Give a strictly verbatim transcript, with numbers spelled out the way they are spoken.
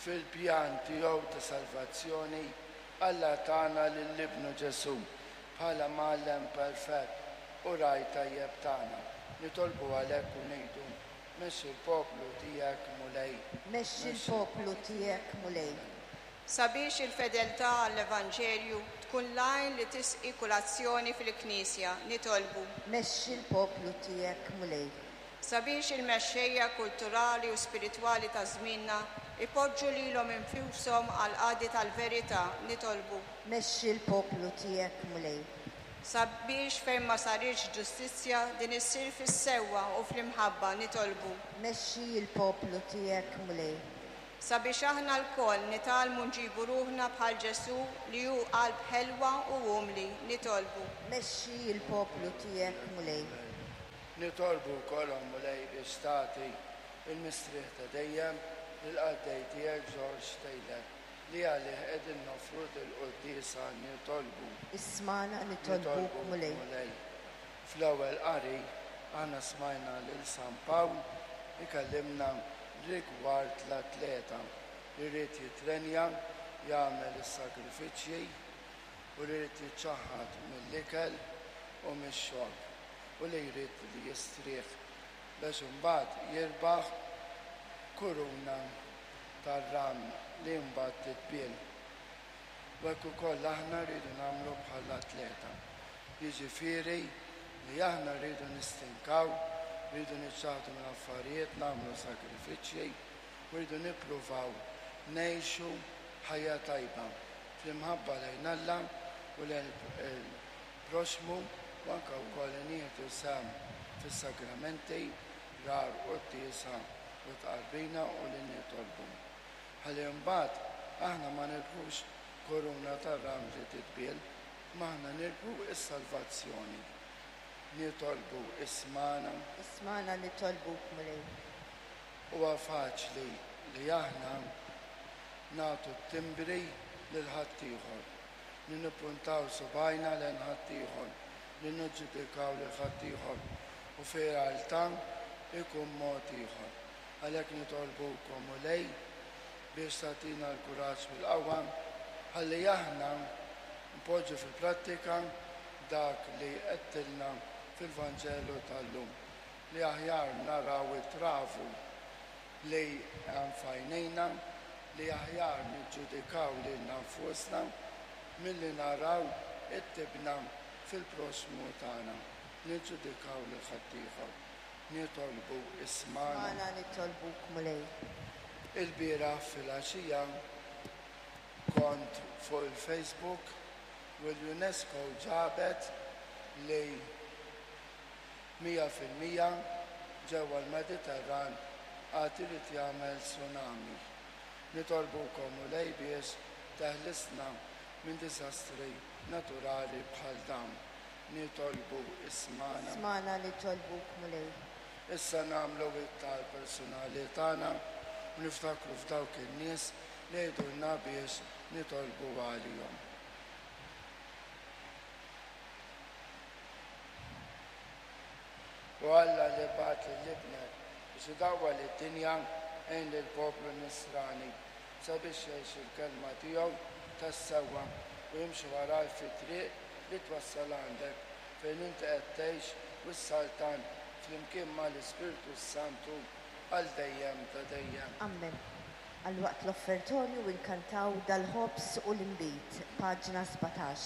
Fil-pjan tiegħu ta' salvazzjoni, Alla tana lil Ibnu Ġesù bħala mgħallem perfett u ragħaj tajjeb tagħna. Nitolbu għalhekk u ngħidu: Mexxi l-poplu tiegħek, Mulej. Mexxi l-poplu tiegħek, Mulej. Sabiex il-fedeltà għall-Evanġelju tkun l-għajn li tisqi kull azzjoni fil-Knisja, nitolbu. Mexxi l-poplu tiegħek, Mulej. Sabiex il-mexxejja kulturali u spiritwali ta' żmienna ipoġġu lilhom infushom għall-qadi tal-verità, nitolbu. Mexxi l-poplu tiegħek, Mulej. Sabiex fejn ma saritx ġustizzja din issir fis-sewwa u fl-imħabba, nitolbu. Mexxi l-poplu tiegħek, Mulej. Sabiex aħna lkoll nitgħallmu nġibu ruħna bħal Ġesù li hu qalb ħelwa u umli, nitolbu. Mexxi l-poplu tiegħek, Mulej. Nitolbu wkoll, o Mulej, biex tagħti il-mistrieħ ta' dejjem lill-qaddej tiegħek George Taylor, li għalih qegħdin noffru dil-quddiesa, nitolbu. Ismagħna nitolbuk, Mulej. Mulej. Fl-ewwel qari aħna smajna lil San Pawl ikellimna rigward l-atleta li jrid jitrenja, jagħmel is-sagrifiċċji u li jrid jiċċaħħad mill-ikel u mix-xorb u li jrid li jistrieħ biex imbagħad jirbaħ kuruna tar-ram li mbagħad titbiel. U hekk ukoll aħna rridu nagħmlu bħall-atleta. Jiġifieri li aħna rridu nistinkaw, rridu niċċaħdu minn affarijiet, nagħmlu sagrifiċċji, u rridu nippruvaw ngħixu ħajja tajba fl-imħabba lejn Alla u lejn il-proxmu, u anke wkoll nieħdu sehem fis-sagramenti, rar u quddiesa u tqarbina u li nitolbu. Ħalli mbagħad aħna ma nirbħux koruna tar-ram li titbiel, ma aħna nirbħu s-salvazzjoni. Nitolbu ismagħna. Ismagħna nitolbuk, Mulej. Huwa faċli li aħna nagħtu t-timbri lil ħaddieħor, li nippuntaw subgħajna lejn ħaddieħor, li niġġudikaw lil ħaddieħor, u fir-realtà ikun mod ieħor. Għalhekk nitolbukom, Mulej, biex tagħtina l-kuraġġ u l-qawwa ħalli aħna npoġġu fil-prattika dak li għedtilna fil-Vanġelu tal-lum, li aħjar naraw it-travu li hemm f'għajnejna, li aħjar niġġudikaw lilna nfusna milli naraw it-tibna fil-proxmu tagħna, niġġudikaw lil ħaddieħor. Nitolbu ismagħna. Ismagħna nitolbuk, Mulej. Il-bieraħ filgħaxija kont fuq il-Facebook u l-UNESCO ġabet li mija fil-mija ġewwa l-Mediterran għad irid jagħmel tsunami. Nitolbukom, Mulej, biex teħlisna minn diżastri naturali bħal dawn. Nitolbu ismagħna. Ismagħna nitolbuk, Mulej. Issa nagħmlu it-talb personali tagħna u niftakru f'dawk in-nies li jgħidulna biex nitolbu għalihom. U Alla li bagħat lil Ibnek biex idawwal id-dinja, għin lill-poplu nisrani sabiex jgħix il-kelma tiegħu tas-sewwa u jimxi waraj fit-triq li twassal għandek, fejn inti qed tgħix u s-saltan flimkien mal-Ispirtu Santu għal dejjem ta' dejjem. Amen. Għal waqt l-offertorju inkantaw dal-ħobż u l-inbid, paġna sbatax.